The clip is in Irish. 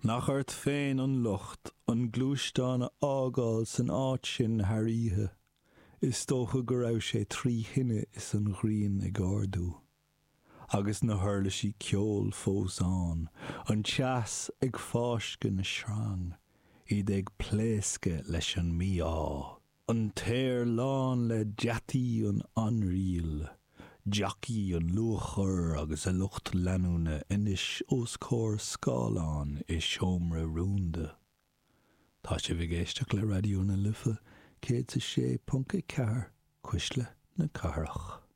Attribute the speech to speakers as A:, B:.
A: Nach ort féin an locht an gluaisteán a fhágáil san áit sin thar oíche. Is dócha go raibh sé tri thine is an ghrian ag ardú. Agus na huirlisí ceoil fós ann, an teas ag fáisceadh na sreang, iad ag pléascadh leis an mí-ádh. An t-aer lán le deataí an ainriail, jockey an luathchoir agus a lucht leanúna anois os comhair scáileáin i seomra rúnda. Tá sibh ag éisteacht le Raidió na Life 106.4, Cuisle na Cathrach.